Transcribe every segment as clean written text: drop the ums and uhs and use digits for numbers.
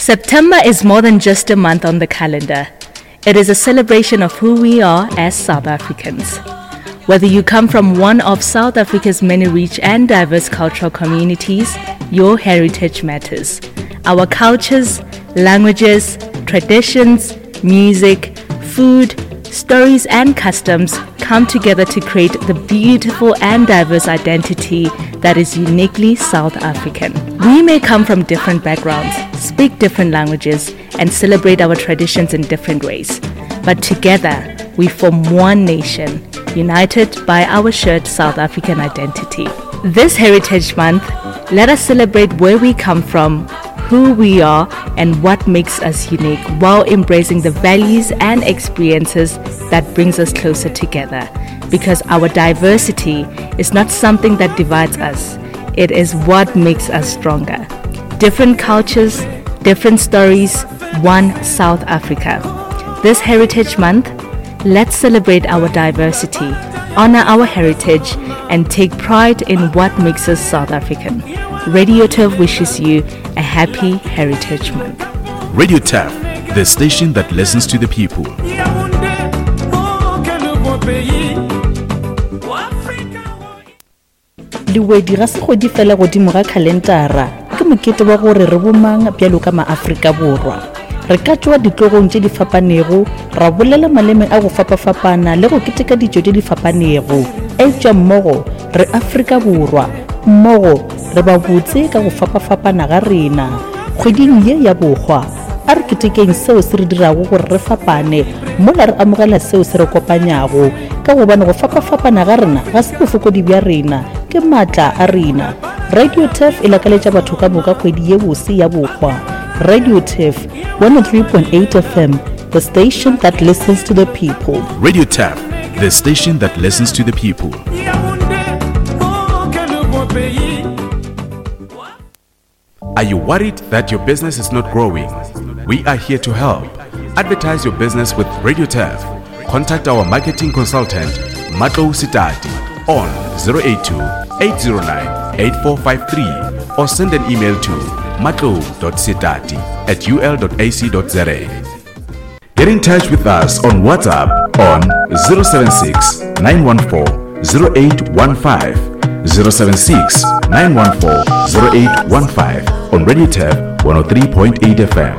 September is more than just a month on the calendar. It is a celebration of who we are as South Africans. Whether you come from one of South Africa's many rich and diverse cultural communities, your heritage matters. Our cultures, languages, traditions, music, food, stories, and customs come together to create the beautiful and diverse identity that is uniquely South African. We may come from different backgrounds, speak different languages, and celebrate our traditions in different ways. But together, we form one nation, united by our shared South African identity. This Heritage Month, let us celebrate where we come from, who we are, and what makes us unique while embracing the values and experiences that brings us closer together. Because our diversity is not something that divides us, it is what makes us stronger. Different cultures, different stories, one South Africa. This Heritage Month, let's celebrate our diversity, honor our heritage, and take pride in what makes us South African. Radio Turf wishes you a happy Heritage Month. Radio Turf, the station that listens to the people. Lewedi ga se kgwedi fela godimo ga khalentara, ke mokete wa gore re bomang bjalo ka maAfrika Borwa. Re ka tšwa ditlogong tše di fapanego, ra bolela maleme a go fapafapana le go keteka ditšo tše di fapanego, eupša mmogo re Afrika Borwa, mmogo re ba botse ka go fapafapana ga rena. Kgweding ye ya Bohwa, a re ketekeng seo se re dirago gore re fapane mola re amogela seo se re kopanyago. Ka gobane go fapafapana ga rena ga se bofokodi bja rena, ke maatla a rena. Radio Turf e lakaletša batho ka moka kgwedi ye bose ya bohwa. Radio Turf, 103.8 FM, the station that listens to the people. Radio Turf, the station that listens to the people. Are you worried that your business is not growing? We are here to help. Advertise your business with Radio Turf. Contact our marketing consultant, Matlo Sitati, on 082 809 8453 or send an email to matlo.sitati at ul.ac.za. Get in touch with us on WhatsApp on 076 914 0815 076 914 0815 on Radio Turf 103.8 FM.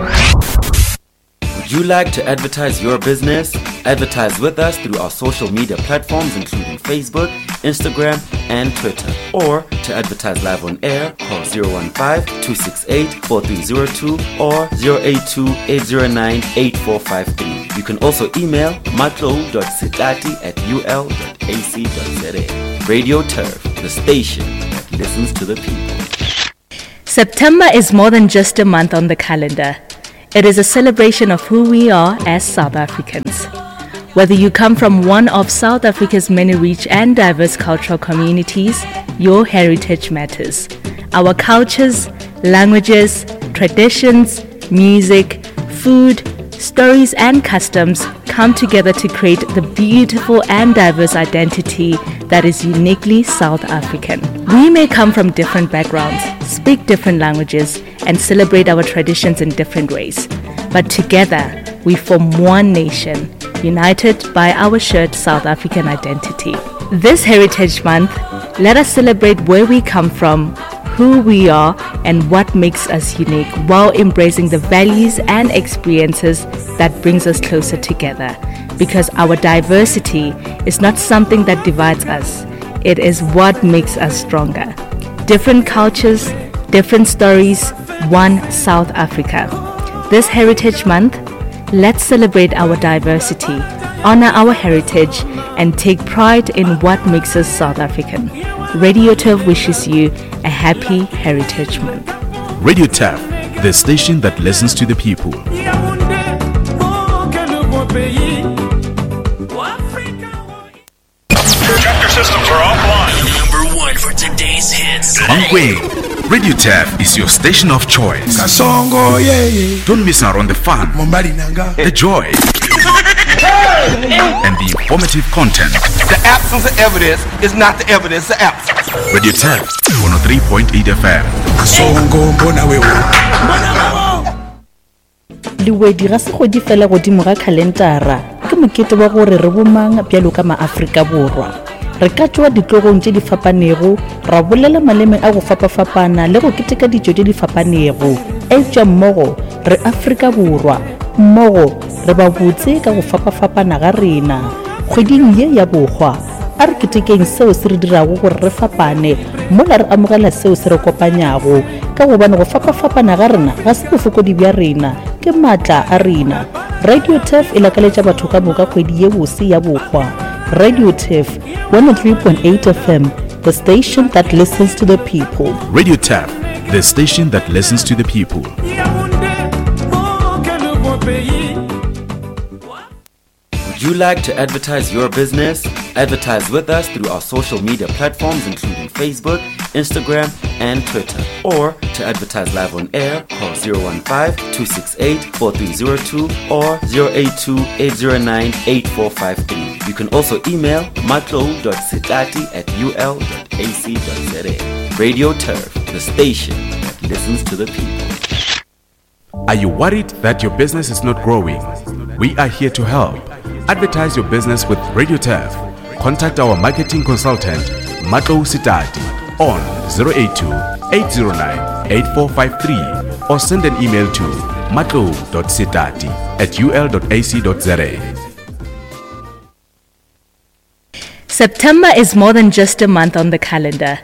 Would you like to advertise your business? Advertise with us through our social media platforms including Facebook, Instagram, and Twitter. Or to advertise live on air, call 015-268-4302 or 082-809-8453. You can also email matlo.sitati at ul.ac.za. Radio Turf, the station that listens to the people. September is more than just a month on the calendar. It is a celebration of who we are as South Africans. Whether you come from one of South Africa's many rich and diverse cultural communities, your heritage matters. Our cultures, languages, traditions, music, food, stories, and customs come together to create the beautiful and diverse identity that is uniquely South African. We may come from different backgrounds, speak different languages, and celebrate our traditions in different ways. But together, we form one nation, united by our shared South African identity. This Heritage Month, let us celebrate where we come from, who we are, and what makes us unique while embracing the values and experiences that brings us closer together. Because our diversity is not something that divides us, it is what makes us stronger. Different cultures, different stories, one South Africa. This Heritage Month, let's celebrate our diversity, honor our heritage, and take pride in what makes us South African. Radio Turf wishes you a happy Heritage Month. Radio Turf, the station that listens to the people. Chapter systems are offline. Number one for today's hits. Mankweng, Radio Turf is your station of choice. Kasongo, yeah, yeah. Don't miss out on the fun, the joy, and the informative content. The absence of evidence is not the evidence of absence. Radio Turf, 103.8 FM. Kasongo, mbona wewe. Lewedi ga se kgwedi fela godimo ga khalentara, ke mokete wa gore re bomang bjalo ka maAfrika Borwa. Re ka tšwa ditlogong tše di fapanego, ra bolela maleme a go fapafapana le go keteka ditšo tše di fapanego, eupša mmogo re Afrika Borwa, mmogo re ba botse ka go fapafapana ga rena. Kgweding ye ya Bohwa, a re ketekeng seo se re dirago gore re fapane mola re amogela seo se re kopanyago, ka gobane go fapafapana ga rena ga se bofokodi bja rena, ke maatla a rena. Radio Turf e lakaletša batho ka moka kgwedi ye bose ya bohwa. Radio Turf, 103.8 FM, the station that listens to the people. Radio Turf, the station that listens to the people. Would you like to advertise your business? Advertise with us through our social media platforms, including Facebook, Instagram, and Twitter. Or to advertise live on air, call 015 268 4302 or 082 809 8453. You can also email matlo.sitati at ul.ac.za. Radio Turf, the station that listens to the people. Are you worried that your business is not growing? We are here to help. Advertise your business with Radio Turf. Contact our marketing consultant, Matlo Sitati, on 082 809 8453 or send an email to matlo.sitati at ul.ac.za. September is more than just a month on the calendar.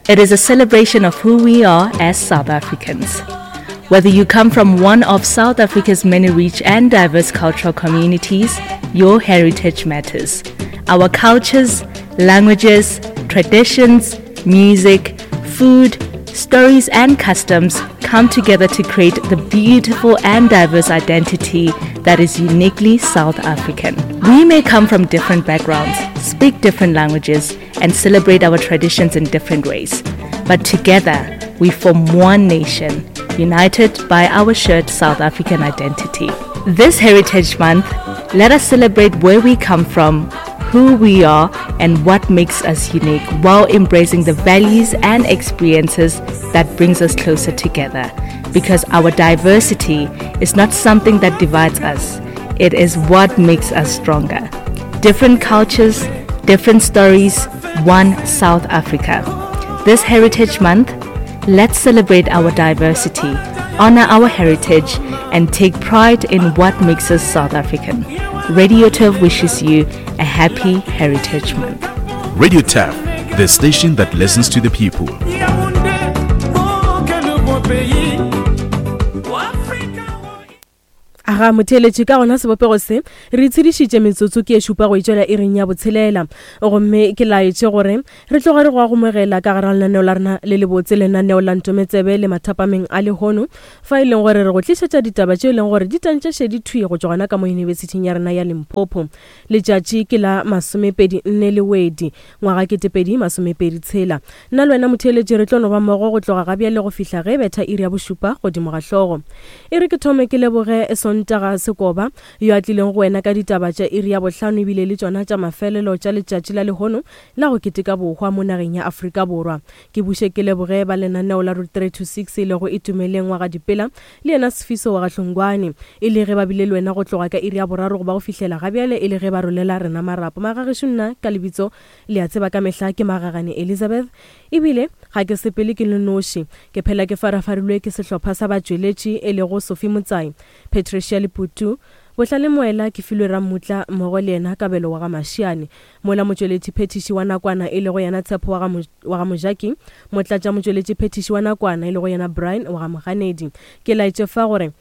It is a celebration of who we are as South Africans. Whether you come from one of South Africa's many rich and diverse cultural communities, your heritage matters. Our cultures, languages, traditions, music, food, stories, and customs come together to create the beautiful and diverse identity that is uniquely South African. We may come from different backgrounds, speak different languages, and celebrate our traditions in different ways. But together, we form one nation, united by our shared South African identity. This Heritage Month, let us celebrate where we come from, who we are, and what makes us unique while embracing the values and experiences that brings us closer together. Because our diversity is not something that divides us, it is what makes us stronger. Different cultures, different stories, one South Africa. This Heritage Month, let's celebrate our diversity, honor our heritage, and take pride in what makes us South African. Radio Turf wishes you a happy Heritage Month. Radio Turf, the station that listens to the people. Aga motheeletši ka gona sebopego se re itshedišitše metsotso ke e šupa go itšwela iring ya botshelela gomme ke laetše gore re tloga re go agomogela ka gara lenaneo la rena le lebotse lenaneo la ntometsebe le mathapameng a lehono fa e leng gore re go tlišetša ditaba tše e leng gore di tantše šedi thwi go tšwa gona ka mo yunibesithing ya rena ya Limpopo. Letšatši ke la masomepedi nne Lewedi, ngwaga 2023. Nna le wena motheeletši re tlo no ba mmogo go tloga ga bjale go fihla ge e betha iri ya bošupa godimo ga hlogo. E re ke thome ke leboge Sontaga Sekoba yo a tlileng go wena ka ditaba tša iri ya bohlano ebile le tšona tša mafelelo tša letšatši la lehono la go keteka bohwa mo nageng ya Afrika Borwa. Ke buše ke leboge ba lenaneo la Route 3 to 6 e lego Itumeleng wa ga Dipela le yena Sifiso wa ga Hlongwane, e le ge ba bile le wena go tloga ka iri ya boraro go ba go fihlela gabjale e le ge ba rolela rena marapo. Magagešo nna ka lebitso le a tseba ka mehla ke Magagane Elizabeth, ebile ga ke sepele ke le noši. Ke phela ke farafarilwe ke sehlopha sa batšweletši e lego Sophie Motsai, Patricia Leputu, Bohlale Moela, Kefilwe Rammutla mmogo le yena Kabelo wa ga Mashiane. Mola motšweletšiphethiši wa nakwana e lego yena Tshepo wa ga, wa ga Mojaki, motlatšamotšweletšiphethiši wa nakwana e lego yena Brian wa ga Moganedi. Ke laetše fa gore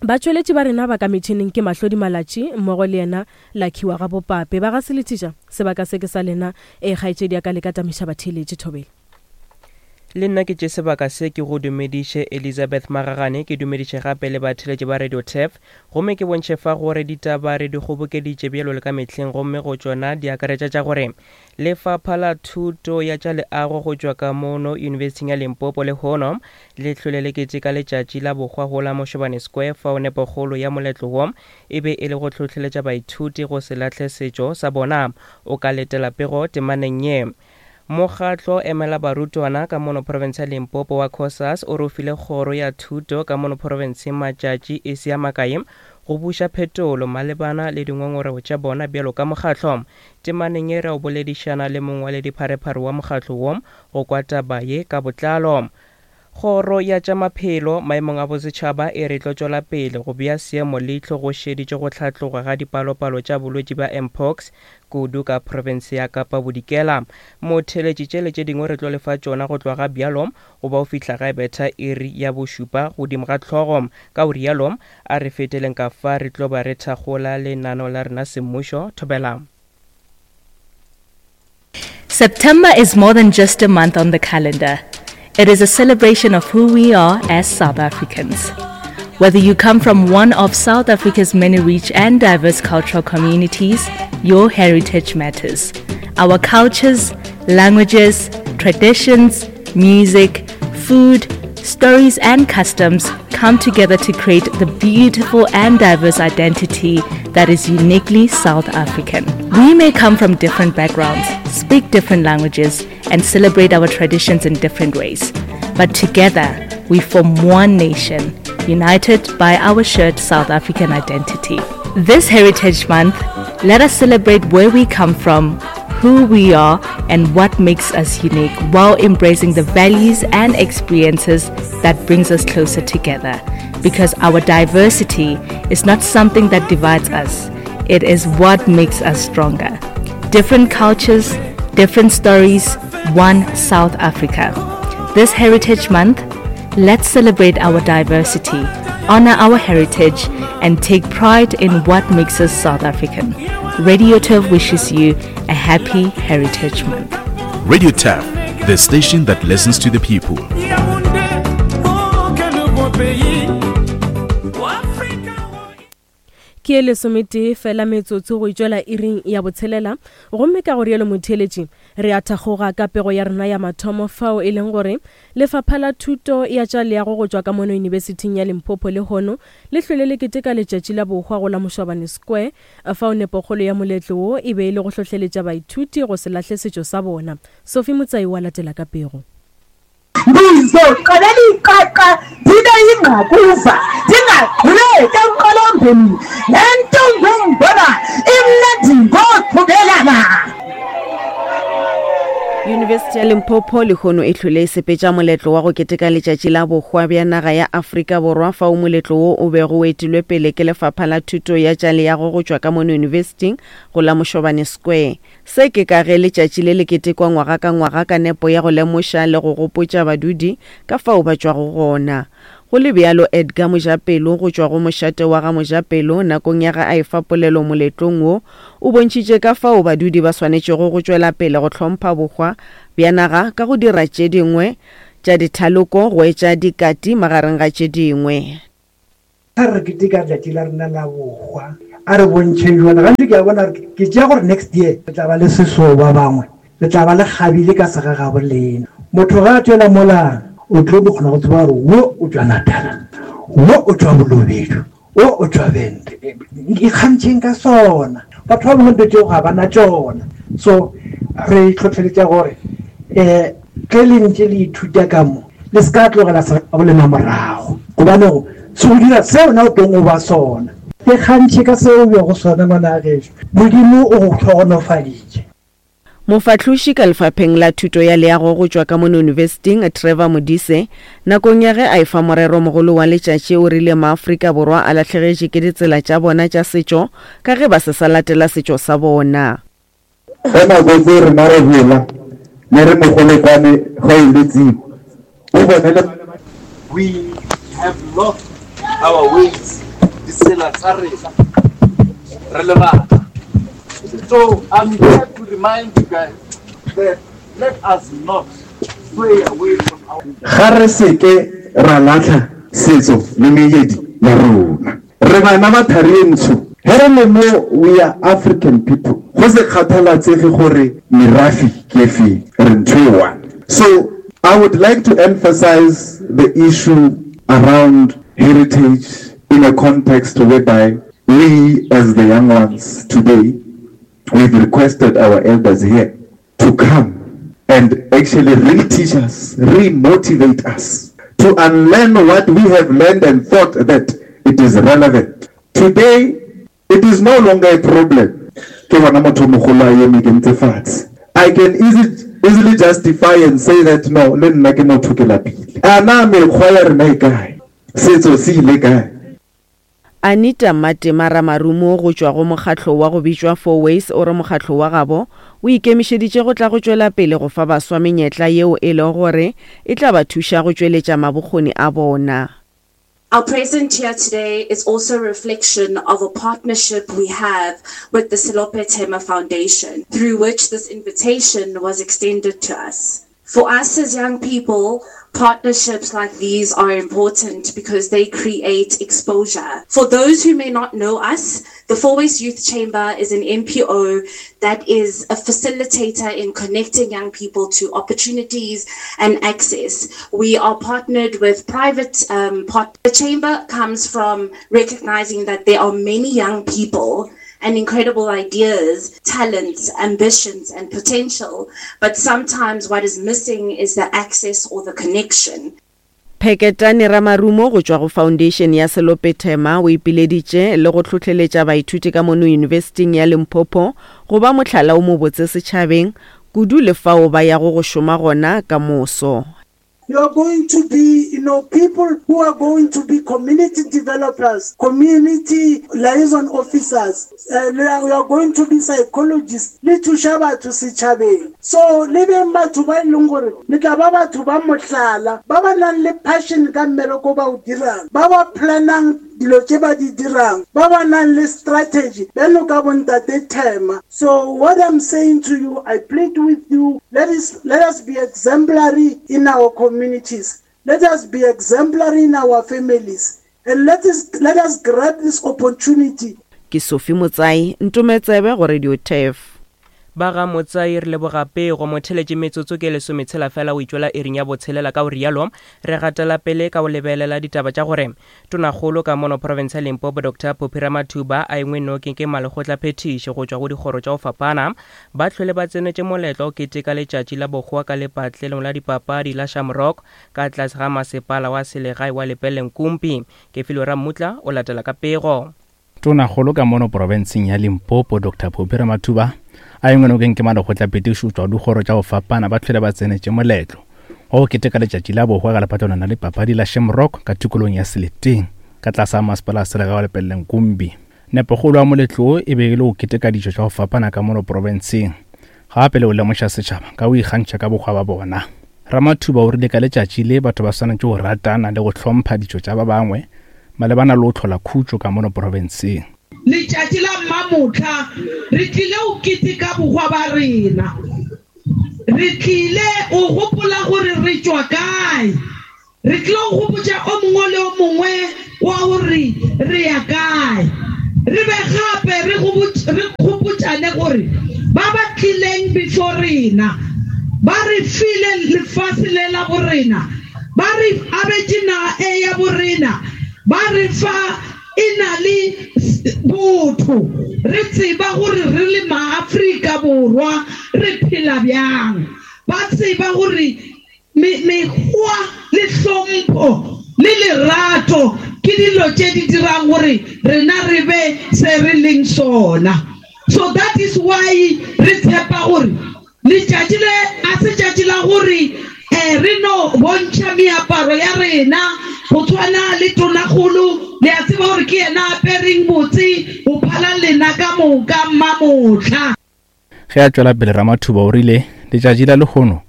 batšweletši ba rena ba ka metšhineng ke Mahlodi Malatši mmogo le yena Lucky wa ga Bopape. Ba ga Selethiša, sebaka se ke sa lena. Ee, kgaetšedi ya ka le ka tamiša batheeletši thobela. Le nna ke tše sebaka se ke go dumediše Elizabeth Magagane, ke dumediše gape le batheeletši ba Radio Turf, gomme ke bontšhe fa gore ditaba re di kgobokeditše bjalo le ka mehleng gomme go tšona di akaretša tša gore Lefapha la Thuto ya tša Leago go tšwa ka mono Yunibesithing ya Limpopo lehono le hlwele le keteka letšatši la bohwa go la Mošobane Square fao nepokgolo ya moletlo wo e be e le go hlohleletša baithuti go se lahle setšo sa bona. O ka letela pego temaneng ye. Mokgatlo emela barutwana ka mono profense ya Limpopo wa Cosas o re o file kgoro ya thuto ka mono profenseng matšatši e se a makae go buša phetolo malebana le dingongorego tša bona bjalo ka mokgatlo. Temaneng ye re o boledišana le mongwaledipharephare wa mokgatlo wo go kwa taba ye ka botlalo. Kgoro ya tša Maphelo maemong a bosetšhaba e re tlo tšwela pele go bea seemo leihlo go šeditše go hlatloga ga dipalopalo tša bolwetši bja Mpox kudu ka profense ya Kapa Bodikela. Motheeletši tše le tše dingwe re tlo le fa tšona go tloga ga bjalo go ba go fihla ga e betha iri ya bošupa godimo ga hlogo. Ka go rialo a re feteleng ka fa re tlo ba re thakgola lenaneo la rena semmušo. Thobela. September is more than just a month on the calendar. It is a celebration of who we are as South Africans. Whether you come from one of South Africa's many rich and diverse cultural communities, your heritage matters. Our cultures, languages, traditions, music, food, stories, and customs come together to create the beautiful and diverse identity that is uniquely South African. We may come from different backgrounds, speak different languages, and celebrate our traditions in different ways. But together, we form one nation, united by our shared South African identity. This Heritage Month, let us celebrate where we come from, who we are, and what makes us unique while embracing the values and experiences that brings us closer together. Because our diversity is not something that divides us, it is what makes us stronger. Different cultures, different stories, one South Africa. This Heritage Month, let's celebrate our diversity, honor our heritage, and take pride in what makes us South African. Radio Turf wishes you a happy Heritage Month. Radio Turf, the station that listens to the people. Ke ye lesometee fela metsotso go itšwela iring ya botshelela, gomme ka go rialo motheeletši, re a thakgoga ka pego ya rena ya mathomo fao e leng gore Lefapha la Thuto ya tša Leago go tšwa ka mono Yunibesithing ya Limpopo lehono le hlwele le keteka Letšatši la Bohwa go la Mošwabane Square, fao nepokgolo ya moletlo wo e be e le go hlohleletša baithuti go se lahle setšo sa bona. Sophie Motsai o a latela ka pego. Ndizoqalela iqaqa ndibe yingqakuva ndingagquleki emqolombeni le nto ngumbona imnandi ngothubelana. Yunibesithi ya Limpopo lehono e hlwele e sepetša moletlo wa go keteka letšatši la bohwa bja naga ya Afrika Borwa fao moletlo wo o bego o etilwe pele ke lefapha la thuto ya tša leago go tšwa ka mono yunibesithing go la Mošobane Square. Se ke ka ge letšatši le le ketekwa ngwaga ka ngwaga ka nepo ya go lemoša le go gopotša badudi ka fao ba tšwago gona. Go le bjalo, Edgar Mojapelo go tšwa go mošate wa ga Mojapelo nakong ya ge a efa polelo moletlong wo, o bontšhitše ka fao badudi ba swanetšego go tšwela pele go hlompha bohwa bja naga ka go dira tše dingwe tša dithaloko go etša dikati magareng ga tše dingwe. Ge re keteka letšatši la rena la bohwa, a re bontšheng jona. Gantši ke a bona gore ke tšea gore next year re tla ba le sesoo ba bangwe re tla ba le kgabile ka segagabo lena. Motho ge a tšwela mola o tlo kgona go tseba gore wo o tšwa Natala, wo o tšwa Bolobedu, wo o tšwa Venda. Ikgantšheng ka sona. Batho ba bangwe dilo tšeo ga ba na tšona. So re hlohleletša gore um ge le ntše le ithuta ka mo, Le se ka tlogela segagabo lena morago, gobane go se go dira se wena o tong o ba sona. Ikgantšhe ka se o bego sona, ngwana gešo. Modimo o go hlogonofaditše. Mofahloši ka lefapheng la thuto ya leago go tšwa ka mono yunibesiting, Trevor Modise, nakong ya ge a efa morero mogolo wa letšatši o rile maAfrika Borwa a lahlegetše ke ditsela tša bona tša setšo ka ge ba se sa latela setšo sa bona. Ge nako tse rena re gola ne re mogolekwane ge o le tsiko o bone le. We have lost our ways, ditsela tsa rena re le bana. So I'm here to remind you guys that let us not sway away from our. Ga re se ke ra lahla setso le meedi ya rona. Re bana ba thari ye ntsho. Ge re le mo we are African people. Go se kgathalatsege gore merafe ke efe, re ntho e one. So I would like to emphasize the issue around heritage in a context whereby we as the young ones today, we've requested our elders here to come. And actually really teach us, re-motivate us to unlearn what we have learned and thought that it is relevant. Today, it is no longer a problem. Ke bona motho o mogolo a eme ke ntse fatshe. I can easy, easily justify and say that no, le nna ke motho ke lapile. A na mekgwa ya rena e kae? Setso se ile kae? Anita Mmatema Ramarumo go tšwa go mokgatlo wa go bitšwa Fourways o re mokgatlo wa gabo o ikemišeditše go tla go tšwela pele go fa baswa menyetla yeo e lego gore e tla ba thuša go tšweletša mabokgoni a bona. Our presence here today is also a reflection of a partnership we have with the Selope Thema Foundation, through which this invitation was extended to us. For us as young people, partnerships like these are important because they create exposure. For those who may not know us, the Fourways Youth Chamber is an NPO that is a facilitator in connecting young people to opportunities and access. We are partnered with private um, part- The chamber comes from recognizing that there are many young people and incredible ideas, talents, ambitions, and potential. But sometimes what is missing is the access or the connection. Pheketane Ramarumo go tšwa go Foundation ya Selope Thema o ipileditše le go hlohleletša baithuti ka mono Yunibesithing ya Limpopo go ba mohlala o mobotse setšhabeng, kudu le fao ba yago go šoma gona ka moso. You are going to be, you know, people who are going to be community developers, community liaison officers. Uh, you are going to be psychologists. Le thuša batho setšhabeng. So le beng batho ba e leng gore le tla ba batho ba mohlala, ba ba nang le passion ka mmereko ba o dirang, ba ba planang dilo tše ba di dirang, ba ba nang le strategy bjalo ka bontate Thema. So what I'm saying to you, I plead with you, let us, let us be exemplary in our communities. Let us be exemplary in our families. And let us, let us grab this opportunity. Ke Sophie Motsai, Ntometsebe go Radio Turf. Ba ga Motsai re leboga pego motheletše metsotso ke lesometshela fela o itšwela iring ya botshelela ka o rialo re gatela pele ka o lebelela ditaba tša gore Tonakgolo ka mono profense ya Limpopo Doctor Phophi Ramathuba a engwe nokeng ke malekgotlaphethiši go tšwa go dikgoro tša go fapana ba hlwele ba tsenetše moletlo wa go keteka letšatši la bohwa ka lepatlelong la dipapadi la Shamrock ka tlase ga masepala wa selegae wa Lepelle-Nkumpi. Kefilwe Rammutla o latela ka pego. Tonakgolo ka mono profenseng ya Limpopo Doctor Phophi Ramathuba a engwe nokeng ke malekgotlaphethiši go tšwa go dikgoro tša go fapana ba hlwele ba tsenetše moletlo wa go keteka letšatši la bohwa ka lepatlelong la dipapadi la Shamrock ka tikologong ya Seleteng ka tlase ga masepala wa selegae wa Lepelle-Nkumpi. Nepokgolo ya moletlo wo e be e le go keteka ditšo tša go fapana ka mono profenseng gape le go lemoša setšhaba ka go ikgantšha ka bohwa ba bona. Ramathuba o rile ka letšatši le batho ba swanetše go ratana le go hlompha ditšo tša ba bangwe malebana le go hlola khutšo ka mono profenseng. Letšatši la Mmamohla re tlile go keteka bohwa ba rena. Re tlile go gopola gore re tšwa kae. Re tlile go gopotša o mongwe le o mongwe wa gore re ya kae. Re be gape re re gopotšane gore ba ba tlileng before rena ba re file lefase le la borena, ba re abetše naga e ya borena, ba re fa e na le botho, re tseba gore re le Maafrika Borwa re phela bjang, ba tseba gore me, mekgwa le hlompho le lerato ke dilo tše di dirang gore rena re be se re leng sona. So that is why re tshepa gore Letšatši le a se tšatši la gore re no bontšha meaparo ya rena go tshwana le tonakgolo, le a tseba gore ke yena a apereng botse go phala lena ka moka mmamohla. Ge a tšwela pele Ramathuba o rile letšatši la lehono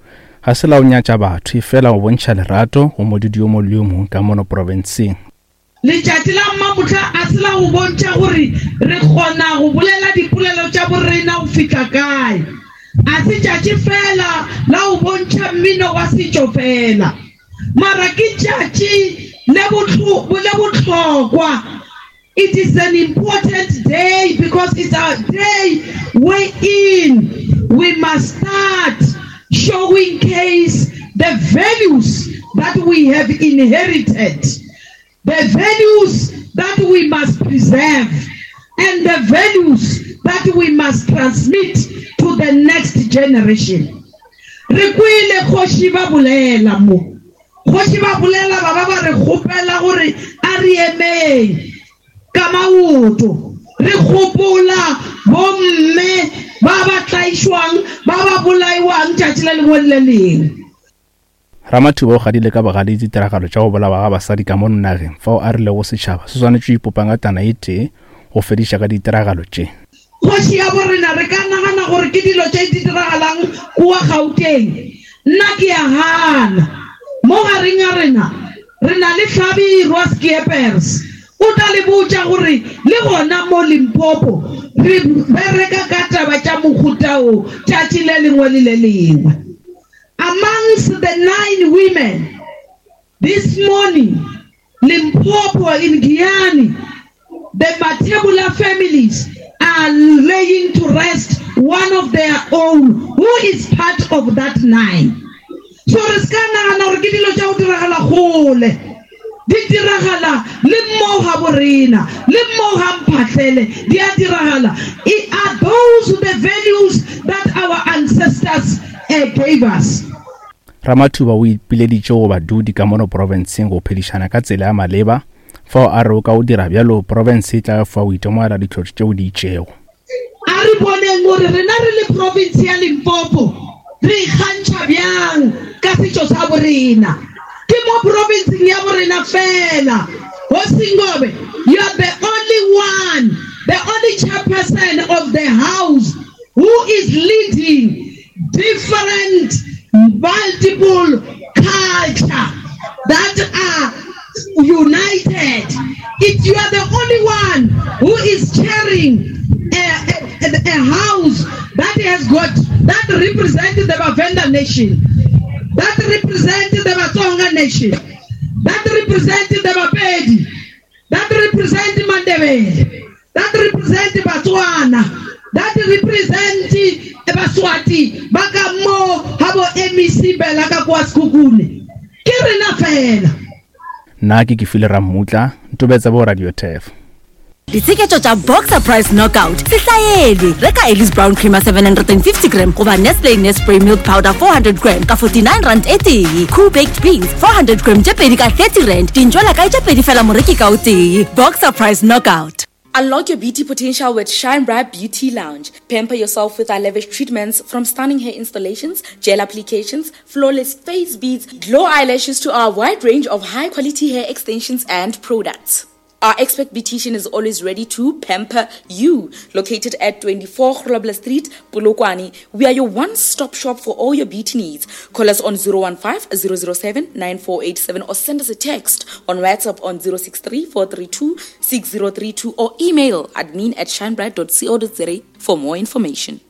ga se la go nyatša batho efela go bontšha lerato go modudi yo mongwe le yo mongwe ka mono profenseng. Letšatši la Mmamohla a se la go bontšha gore re kgona go bolela dipolelo tša borena go fihla kae. A se tšatši feela la go bontšha mmino wa setšo feela, mara ke tšatši le le bohlokwa. It is an important day because it's a day wherein we must start showing case the values that we have inherited, the values that we must preserve and the values that we must transmit to the next generation. Re kwele kgoši ba bolela mo. Kgoši ba bolela ba ba ba re kgopela gore a re emeng ka maoto re gopola bomme ba ba tlaišwang, ba ba bolaiwang tšatši le lengwe le le lengwe. Ramathuba o gadile ka bogale ditiragalo tša go bolawa ga basadi ka mono nageng fao a rilego setšhaba se swanetše go ipopa ngatana e tee go fediša ka ditiragalo tše. Kgoši ya borena, re ka nagana gore ke dilo tše di diragalang kua Gauteng. Nna ke a gana. Mo gareng ga rena, re na le Hlabirwa Skeepers. O tla le botša gore le gona mo Limpopo re bereka ka taba tša mohuta wo tšatši le lengwe le le lengwe. Amongst the nine women this morning, Limpopo in Giyani, the Mathebula families are laying to rest one of their own who is part of that nine. So re se ka nagana gore ke dilo tša go diragala kgole. Di diragala le mo ga borena, le mo ga Mphahlele, di a diragala. I are those the values that our ancestors gave us? Ramathuba o ipileditše go badudi ka mono profenseng go phedišana ka tsela ya maleba, fao a rego ka go dira bjalo profense e tla fa go itemogela ditlhotlo tšeo di itšego. A re boneng gore rena re le province ya Limpopo re ikgantšha bjang ka setšo sa borena. Ke mo provinceng ya borena fela. Hosingobe, you are the only one, the only chairperson of the house who is leading different multiple culture that are united. If you are the only one who is chairing a, a, a house that has got that represent the Vhavenda nation, that represent the Vatsonga nation, that represent the Bapedi, that represent Mandebele, that represent Batswana, that represent Baswati ba ka mo ga bo MEC Bela ka kwa Sekhukhune. Ke rena fela. Nna ke Kefile Rammutla, Ntobetsa bo Radio Turf. Ditsheketšo tša Boxer Price Knockout se hlaelwe. Reka Ellis Brown Creamer 750 gram goba Nestle Nespray Milk Powder 400 gram ka 49 rand e tee. Cool Baked Beans 400 gram tše pedi ka 30 rand. Dintšwela kae tše pedi fela moreki ka o tee. Boxer Price Knockout. Unlock your beauty potential with Shine Bright Beauty Lounge. Pamper yourself with our lavish treatments from stunning hair installations, gel applications, flawless face beads, glow eyelashes to our wide range of high quality hair extensions and products. Our expert beautician is always ready to pamper you. Located at 24 Grobler Street, Polokwane, we are your one-stop shop for all your beauty needs. Call us on 015 007 9487 or send us a text on WhatsApp on 063 432 6032 or email admin at shinebright.co.za for more information.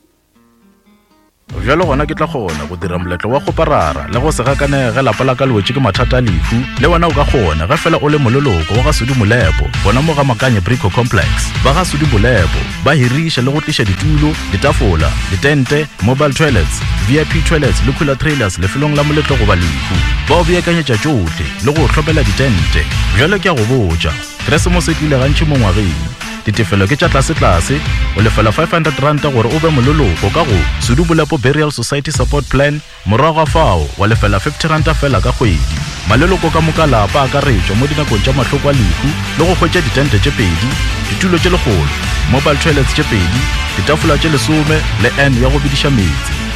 Bjalo gona ke tla kgona go dira moletlo wa kgoparara le go se gakanege ge lapa la ka le wetše ke mathata a lehu. Le wena o ka kgona ge fela o le moleloko wa ga Sudi Molepo gona mo ga Makanye Brico Complex. Ba ga Sudi Molepo ba hiriša le go tliša ditulo, ditafola, ditente, mobile toilets, VIP toilets le cooler trailers lefelong la moletlo goba lehu. Ba o beakanyetša tšohle le go o hlopela ditente. Bjalo ke a go botša, Keresemose e tlile gantši mo ngwageng. Ditefelo ke tša tlasetlase, o lefela R500 gore o be moleloko ka go Sudu Bolepo Burial Society Support Plan, morago ga fao wa lefela R50 fela ka kgwedi. Maleloko ka moka lapa a akaretšwa mo dinakong tša mahloko a lehu le go hwetša ditente tše pedi, ditulo tše lekgolo, mobile toilets tše pedi, ditafola tše lesome le urn ya go bidiša meetse.